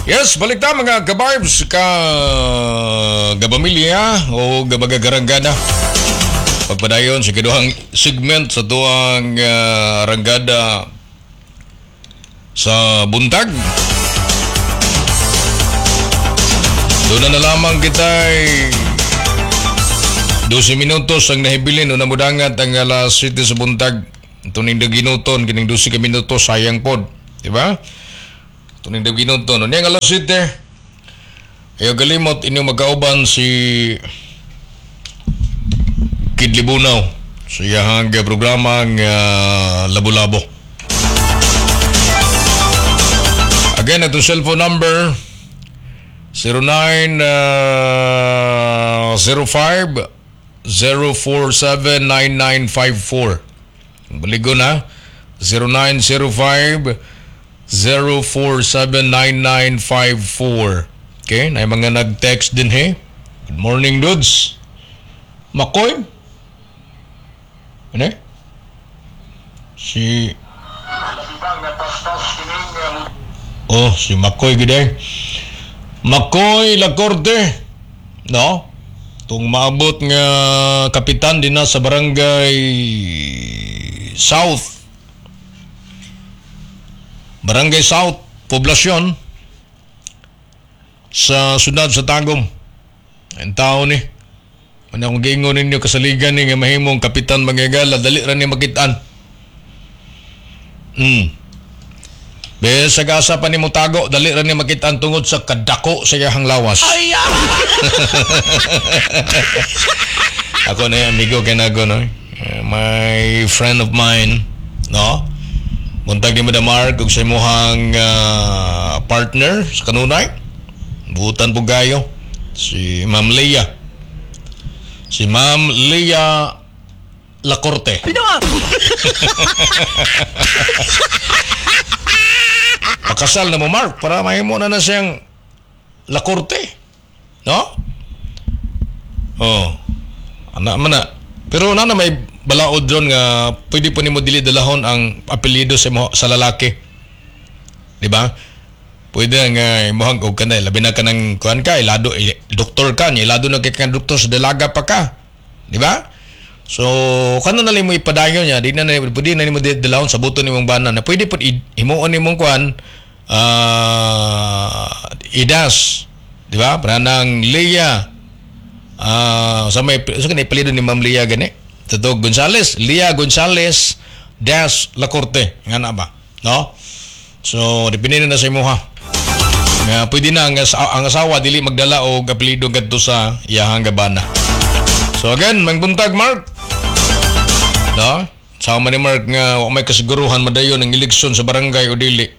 Yes, balik ta, mga kabarbs, ka gabamilya o gabagagarangada. Pagpadayon sa kiduhang segment sa tuang ranggada sa buntag. Doon na lamang kita'y 12 minutos ang nahibilin una mudangat ang alas 7 sa buntag. Ito ning daginuton, kining 12 ka minutos, sayang pod. Di ba? Ito ning daginuton. Ano ang alas 7? Ayaw galimot inyong magkauban si Kid Libunaw sa iyahang programang Labo-Labo. Again, itong cellphone number 09 05 047 9954. Baligo na, 0905 0479954. Okay, na mga nag-text din he. Good morning, dudes. Makoy? Ano? Si Oh, si Makoy gid. Makoy Lacorte. No? Tung maabot nga kapitan din na sa Barangay South. Barangay South, Poblasyon sa syudad sa Tagum. Ang tao ni. Ano akong giingon ninyo kasaligan ni nga mahimong kapitan mangyagala, dali ra ni makitaan. Be sa gasa pa ni mo tago, dali ra ni makitaan tungod sa kadako sa iyang lawas. Ay! Ako na yung amigo kay nago, no? My friend of mine, no? Buntag ni Madam Mark ug sa imuhang partner sa kanunay. Butan po gayo si Ma'am Leah. Si Ma'am Leah Lacorte. Pino! Pakasal na mo, Mark, para mahimo na na siyang Lacorte. No? Oh. Ana man na. Pero na may balaod doon nga pwede po nimo dili dalahon ang apelyido sa imo, sa lalaki. Di ba? Pwede nga imuhang og kanay labi na ka ng kuan ka, ilado doktor ka, niya ilado na kay kang doktor sa dalaga pa ka. Di ba? So kano na lang mo ipadayon niya, di na na pwede na nimo dalahon sa buto nimong bana na pwede pud himuon nimong kuan idas. Di ba? Para nang Leah sa may sa kanay apelyido ni Ma'am Leah gani. Totoo Gonzales, Leah Gonzales dash Lacorte. Nga na ba? No? So depende na sa imuha. Nga pwede na ang asawa dili magdala og apelyido kadto sa iyahang gabana. So again, mangbuntag, Mark. No? Sama ni Mark nga wa may kasiguruhan madayon ang eleksyon sa barangay o dili.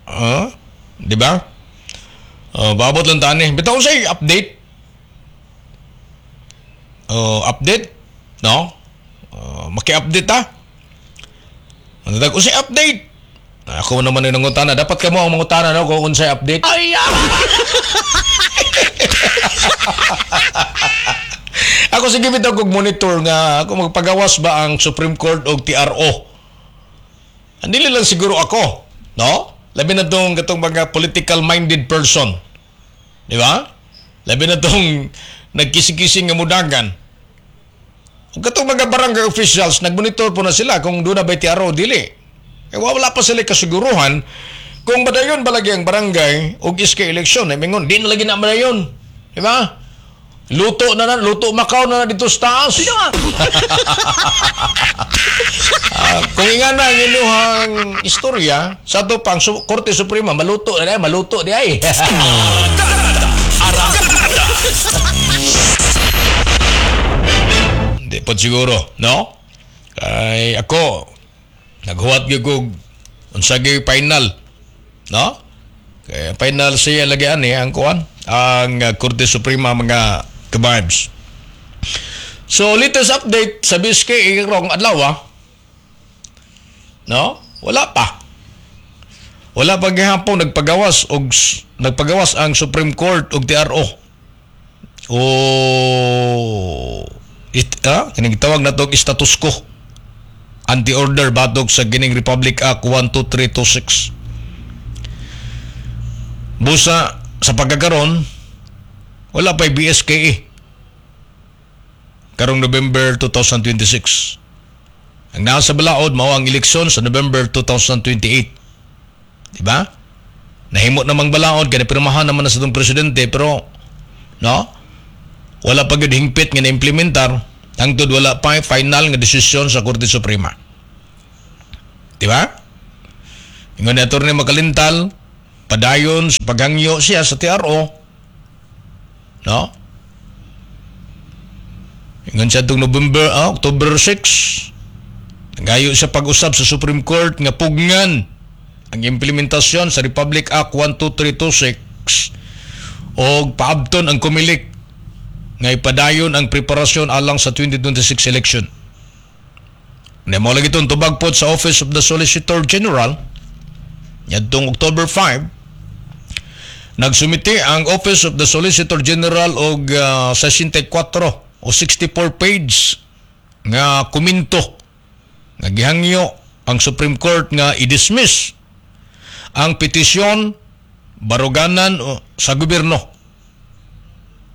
Huh? Di ba? Babot lang tani. Bitaw say update. Update? No? Maki-update ta? Ano tag unsay update? Ako naman yung nangutana. Dapat kamo ang mangutana, no, kung unsay update. Ay! Ako sige bitaw kog monitor nga ako magpagawas ba ang Supreme Court og TRO. Andili lang siguro ako, no? Labi na tong katong mga political minded person. Di ba? Labi na tong nagkising-kising nga mudagan. Ug katong mga barangay officials nagmonitor po na sila kung doon na ba TRO dili. Eh wala pa sila kasiguruhan kung badayon ba lagi ang barangay og iska eleksyon. Eh mingon di na lagi na badayon. Di ba? Luto na na, luto Macau na na dito sa taas. Pino! Kung inga na ang inyong istorya, sa ato pang Korte Suprema, maluto na di ay, maluto di ay. Hindi po siguro, no? Kay ako, naghuwat gyud kog unsa gyud final, no? Kay final siya lagi ani ang kuan, ang Korte Suprema, mga ka-vibes. So latest update sa BSK karong adlaw, no? Wala pa. Wala pa gihapon nagpagawas ang Supreme Court og TRO. O kining tawag na to status quo. Anti-order batok sa gining Republic Act 12326. Busa sa pagkakaron wala pa'y BSKE karong November 2026. Ang nasa balaod mao ang eleksyon sa November 2028. Di ba? Nahimo namang balaod kay pirmahan naman na sa itong presidente, pero no, wala pa gyud hingpit nga na-implementar hangtod wala pa final nga desisyon sa Korte Suprema. Di ba? Ingon ni Atty. Makalintal, padayon sa paghangyo siya sa TRO. No? Ingon siya itong November, October 6, nangayo siya pag-usab sa Supreme Court nga pugnan ang implementasyon sa Republic Act 12326 o paabton ang Comelec nga ipadayon ang preparasyon alang sa 2026 election. Na mo lagi itong tubag pod sa Office of the Solicitor General yadtong October 5. Nagsumiti ang Office of the Solicitor General og 64 o 64 page nga komento nga gihangyo ang Supreme Court nga i-dismiss ang petisyon baruganan sa gobyerno.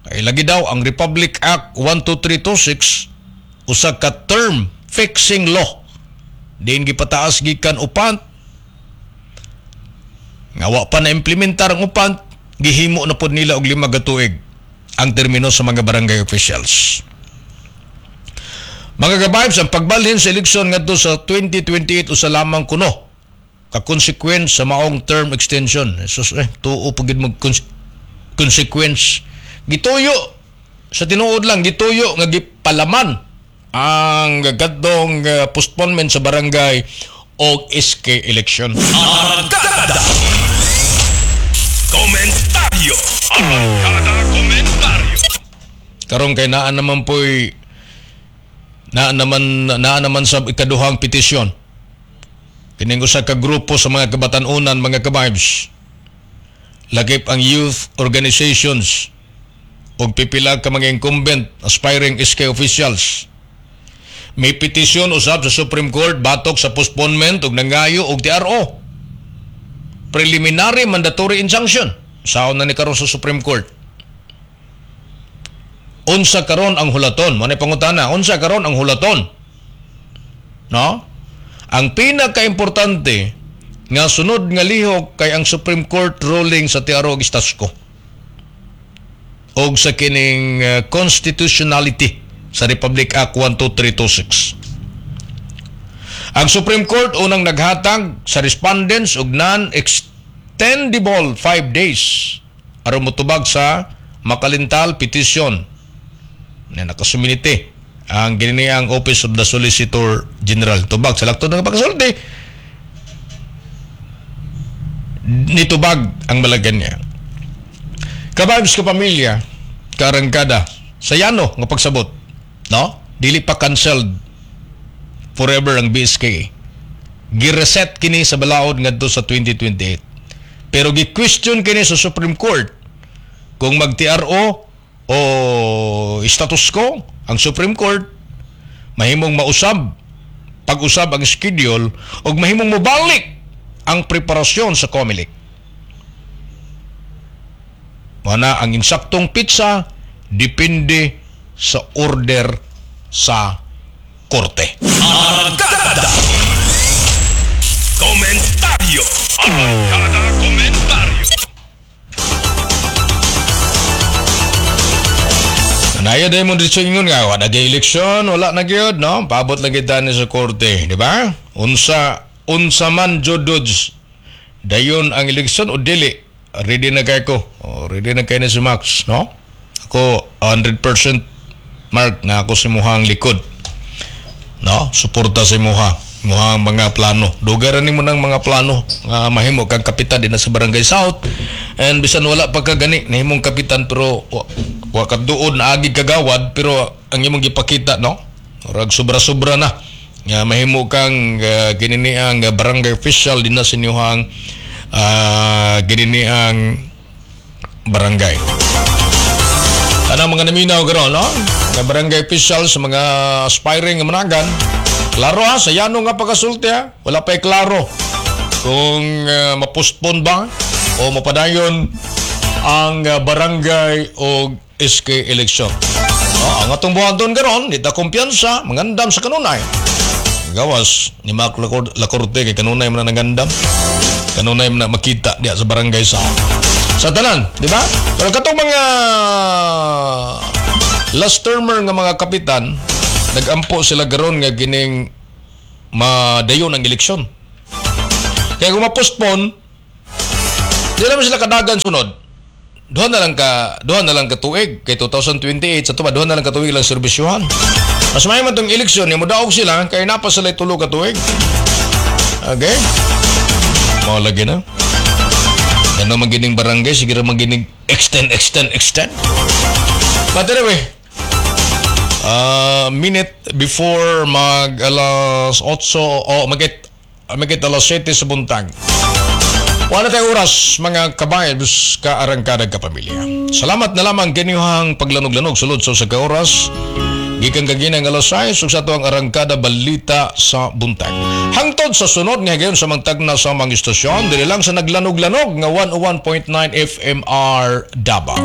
Kay lagi daw ang Republic Act 12326 usa ka term fixing law diin gipataas gikan UPANT nga wa pa na implementar ang UPANT, gihimo na pod nila og 5 ka tuig ang termino sa mga barangay officials. Mga ka-vibes, ang pagbalhin sa eleksyon ngadto sa 2028 usa lamang kuno ka consequence sa maong term extension. Jesus, tuo pag mag consequence. Gituyo sa tinuod lang, gituyo nga gipalaman ang gadtong postponement sa barangay o SK election. Arangkada Komentaryo. Arangkada Komentaryo. Karon kay naa naman sa ikaduhang petisyon kining usa ka grupo sa mga kabatan-unan, mga ka-vibes, lakip ang youth organizations ug pipila ka mga incumbent aspiring SK officials. May petisyon usab sa Supreme Court batok sa postponement ug nangayo og TRO, preliminary mandatory injunction. Saon na ni karon sa Supreme Court. Unsa karon ang hulaton? Mo pangutana, unsa karon ang hulaton, no? Ang pinakaimportante nga sunod nga lihok kay ang Supreme Court ruling sa TRO ug status quo og sa kining constitutionality sa Republic Act 12326. Ang Supreme Court unang naghatag sa respondents og non-extendable 5 days aron motubag sa Makalintal petition na nakasumite ang ang Office of the Solicitor General. Tubag sa laktod ng pagkasulti, nitubag ang Malacanang. Ka-vibes, kapamilya, karangkada, sa yano nga pagsabot, no? Dili pa cancelled forever ang BSK. Gireset kini sa balaod ngadto sa 2028. Pero gi-question kini sa Supreme Court kung mag-TRO o status quo ang Supreme Court, mahimong mausab pag-usab ang schedule ug mahimong mobalik ang preparasyon sa COMELEC. Mana ang insaktong petsa depende sa order sa korte. Arangkada Komentaryo. Arangkada Komentaryo. Naya dahil mo dito ingon nga, wala na eleksyon, wala na gyud, no? Paabot lang kita ni sa korte, di ba? Unsa man jodods, dayon ang eleksyon o dili, ready na kay ko. O, ready na kay na si Max, no? Ako, 100% Mark, na ako sa imuhang likod. No? Suporta sa imuha. Imuhang mga plano. Dugaran nimo ng mga plano nga mahimo kang kapitan din na sa Barangay South. And bisan wala pa ka gani nahimong kapitan, pero wa ka duod na agi kagawad, pero ang imong gipakita, no? Murag sobra-sobra na nga mahimo kang ginini ang barangay official din na sa inyong ginini ang barangay. Ano mga naminaw karon, no? Nga barangay official, sa mga aspiring nga managan. Klaro ha, sa yano nga pagkasulti ha. Wala pa'y klaro kung mapostpone ba. O mapadayon ang barangay o SK election. Oh, ang atong buhaton karon, di ta kumpiyansa, mangandam sa kanunay. Gawas ni Mark Lacorte kay kanunay man na nangandam. Kanunay man na makita diya sa barangay sa tanan, di ba? Pero katong mga last termer nga mga kapitan, nagampo sila garon nga gining madayon ang eleksyon. Kaya kung ma-postpone, di naman sila kadagan sunod. Duha na lang ka tuig kay 2028 sa tuba, duha na lang ka tuig lang serbisyuhan. Mas may man tong eleksyon ni modaog sila kay napa sila tulo ka tuig. Okay? Mao lagi na. Ano magining barangay, sige ra magining extend, extend, extend. But anyway, minute before mag alas 8 o magit alas 7 sa buntag. Wala tayong oras, mga ka-vibes, kaarangkada, kapamilya. Salamat na lamang kinyuhang paglanog-lanog sulod sa usa ka oras. Gikan kaginang alas 6 ug sa ato ang Arangkada Balita sa Buntag. Hangtod sa sunod nga higayon sa mangtagna sa mga istasyon, diri lang sa naglanog-lanog nga 101.9 FMR Davao.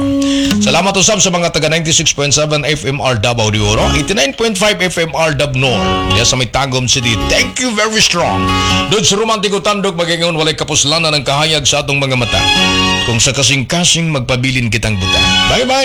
Salamat usab sa mga taga 96.7 FMR Davao de Oro, 89.5 FMR Dabnor, diya sa may Tagum City. Thank you very strong. Doon sa romantiko tandok magingon walay kapuslanan ng kahayag sa atong mga mata. Kung sa kasing-kasing magpabilin kitang buta. Bye-bye!